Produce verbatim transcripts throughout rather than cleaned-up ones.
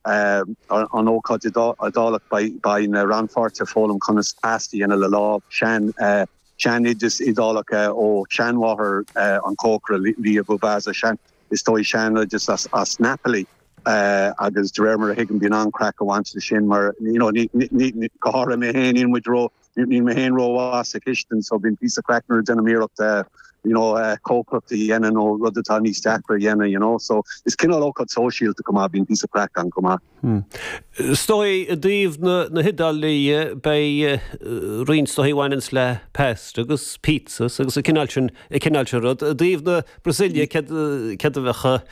An ócáid Iodálach, beidh na rannpháirtithe ag foghlaim conas pasta a dhéanamh le lámh, sean seanoideas Iodálach ó sheanmháthair an chócaire, Lia Bubasa, sean is dóigh seanoideas as as Napoli. Agus de réir mar a thuigim, bíonn an-chraic ag baint leis sin mar you know ní ní go háirithe mé féin, níl muid ró níl mé féin rómhaith sa chistin, so bíonn píosa craic nuair a déanaim iarracht you know cócaireacht a dhéanamh nó rud atá níos deacra a dhéanamh you know so is cineál ócáid sóisialta chomh maith, bíonn píosa craic ann chomh maith. Is dóigh i dtaobh na na hIodáile beidh roinnt is dóigh a bhaineanns le pasta agus pizzas agus an cineál sin an cineál sin rud. I dtaobh na Brasaíle céard céard a bheadh céard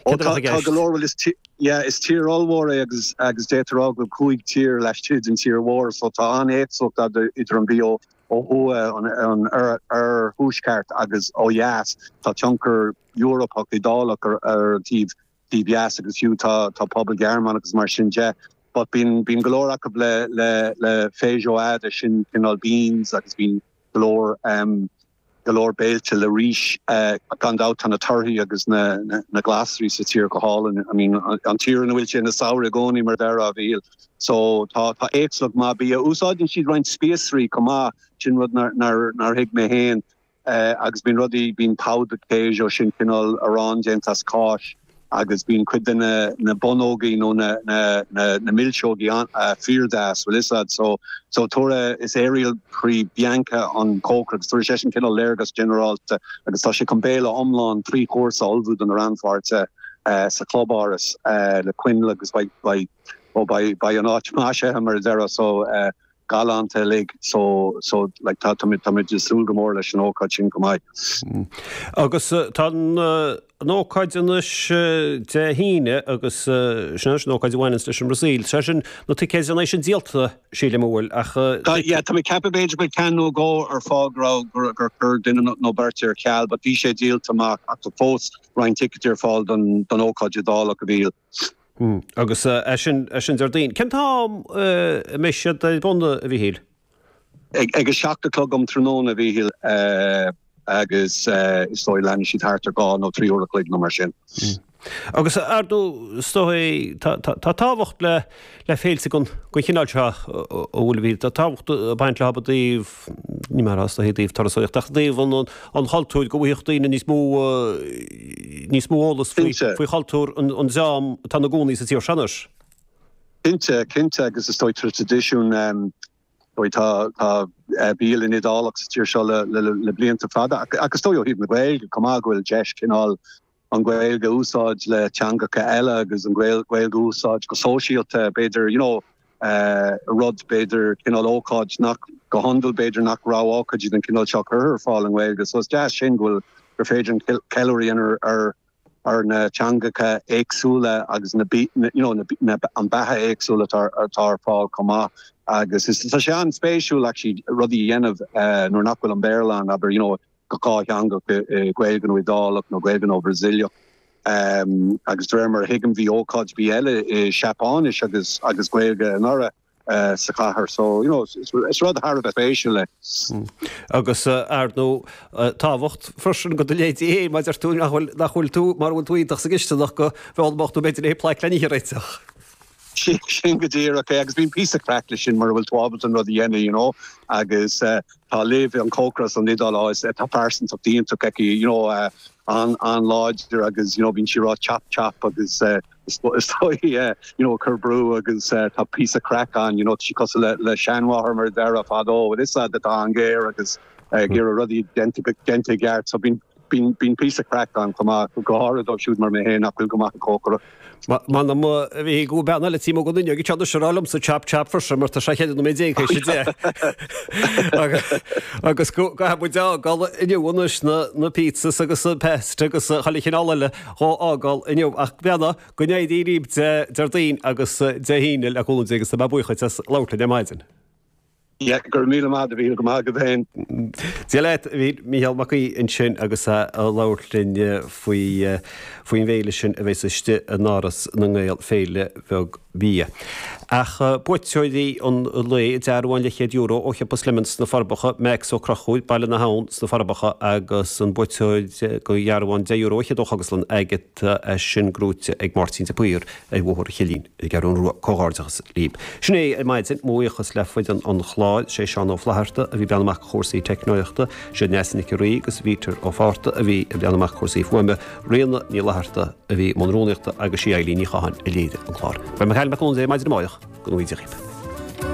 a bheadh i gceist? Tá go leor, bhuel is yeah is tír ollmhór é agus agus d'fhéadfá a rá go bhfuil cúig tír laistigh den tír mhór so tá an-éagsúlacht idir an bia ó thuaidh, an oirthuaisceart agus ó dheas. Tá tionchar Eorpach, Iodálach ar an taobh taobh dheas agus fiú tá tá pobal Gearmánach agus mar sin de. But bíonn bíonn go leor acu le le le feijoada, sin cineál beans, agus bíonn go leor um, go leor béilte le rís. Gan dabht tá na torthaí agus na na glasraí sa tír go hálainn. I mean an tír ina bhfuil sé ina samhradh i gcónaí, mar a déarfá, a Mhíchíl. So tá tá éagsúlacht maith bia. Úsáideann siad roinnt spíosraí chomh maith, sin rud nár nár nár thuig mé féin. Agus bíonn rudaí, bíonn pão de queijo, sin cineál arán déanta as cáis, agus bíonn cuid de na na bonnógaí nó na na na na milseogaí fíordeas, bhfuil fhios a'd. So so tabharfaidh, is Ariel Pri Bianca an cócaire agus tabharfaidh seisean cineál léargas ginearálta agus tá sé chun béile iomlán trí chúrsa a ullmhú do na rannpháirtithe sa chlubáras le coinnle agus beidh beidh ó beidh beidh an áit maisithe, mar a déarfá, so galánta uilig, so so like tá tá tá muid ag súil go mór leis an ócáid sin chomh maith. Agus tá an an ócáid anois Dé hAoine agus sin anois an ócáid a bhaineanns leis an mBrasaíl. Sé sin na ticéid an é sin díolta, sílim, an bhfuil ach Tá yeah tá mé ag ceapadh b'fhéidir go bhfuil ceann nó dhó ar fáil go raibh gur gur chuir duine nó beirt ar ceal, but bhí sé díolta amach ach tá fós roinnt ticéid ar fáil don don ócáid Iodálach, a Mhíchíl. Agus é sin é sin Déardaoin. Cén t-am a mbeidh siad ar bun, a Mhíchíl? Ag a seacht a chlog um tráthnóna, a Mhíchíl, agus is dóigh leanfaidh siad thart ar dhá nó trí uair a chloig nó mar sin. Agus ar ndóigh is dóigh tá tábhacht le le féilte den chineál seo, an bhfuil, a Mhíchíl? Tá tábhacht ag baint leo i dtaobh, ní mar is dóigh i dtaobh turasóireachta ach i dtaobh an an chultúir, go bhfaigheadh daoine níos mó níos mó eolas faoi faoi chultúr an an dream atá ina gcónaí sa tír seo anois. Cinnte, cinnte, agus is dóigh traidisiún, dóigh tá tá bialann Iodálach sa tír seo le le le blianta fada ach is dóigh ó thaobh na Gaeilge chomh maith go bhfuil deis cineál an Ghaeilge a úsáid le teangacha eile agus an Ghaeilge a úsáid go sóisialta b'fhéidir, you know, rud b'fhéidir cineál ócáid nach go hiondúil b'fhéidir nach raibh ócáidí den chineál seo curtha ar fáil i nGaeilge. So is deas sin go bhfuil gur féidir an ceiliúradh a dhéanamh ar ar na teangacha éagsúla agus na you know na an beatha éagsúla atá atá ar fáil chomh maith agus is tá sé an-spéisiúil actually rudaí a dhéanamh nuair nach bhfuil an Béarla ann, abair, you know, go dátheangach, Gaeilge nó Iodálach nó Gaeilge nó Brasaíleach. Agus de réir mar a thuigim bhí ócáid bídh eile i Seapáinis agus agus Gaeilge anuraidh sa chathair. So, you know, is rud thar a bheith spéisiúil é. Agus ar ndóigh tábhacht freisin do do leithéidí féin, mar deir tú nach bhfuil nach bhfuil tú mura bhfuil tú iontach sa gcisteanach go bhfoghlaimeodh tú b'fhéidir é plaic le n-ithe a réiteach. Sin go díreach é, agus bíonn píosa craic leis sin mura bhfuil tú ábalta an rud a dhéanamh, you know, agus tá Liv, an cócaire as an Iodáil, á, tá pearsantacht iontach aici, you know, an-láidir agus, you know, bíonn sí ag rá chop chop agus is dóigh, you know, ag cur brú agus tá píosa craic ann, you know, tá sí cosúil le le seanmháthair mar a déarfá fadó, bhfuil fhios a'd, atá an-ghéar agus ag iarraidh rudaí déanta i gceart, so bíonn Bíonn bíonn píosa craic ann chomh maith, go háirithe dóibh siúd mar mé féin nach bhfuil go maith ag cócaireacht. M'anam a bhí go bean eile tí mo dhuine ag teann is a rá liomsa chop chop freisin mar tá sé cheithre nóiméad déag théis a deich. Agus go gcaithfidh muid a fhágáil inniu anois na na pizzas agus an pasta agus chuile chineál eile dhó fhágáil inniu ach beanna go n-éirí libh Dé Déardaoin agus Dé hAoine le cúnamh Dé agus tá mé buíoch duit as labhairt linn ar maidin. Yeah, go raibh míle maith, a Mhíchíl, go maith agat féin. Dia leat, a Mhíchíl, Mícheál Mac Aoidh ansin agus é ag labhairt linn faoi faoin bhféile sin a bheas istigh in Áras na nGael, Féile Bheag Bia. Ach buaiteoirí an lae, dearbhán leathchéad euro ó Shiopa Slemons sna Forbacha, Max Ó Conchúir, Baile na hAbhann sna Forbacha agus an buaiteoir do dhearbhán deich euro fhichead ó Chógaslann Agatha, é sin gnóite ag Máirtín de Paor ar Bhóthar an Chillín. Ar an gCeathrú Rua. Comhghairdeachas libh. Sin é ar maidin, mo bhuíochas le foireann an chláir, sé Seán Ó Flatharta a bhí ag breathnú amach chúrsaí teicneolaíochta, sé Neasa Nic an Rí agus Peter Ó Fátharta a bhí ag breathnú amach cúrsaí fuaime, Ríona Ní Fhlatharta a bhí i mbun rúnaíochta agus sí Eilín Ní Chatháin a léirigh an clár. Beidh mé Cathal Mac Con ar maidin amárach, go ngnóthaí Dia dhaoibh.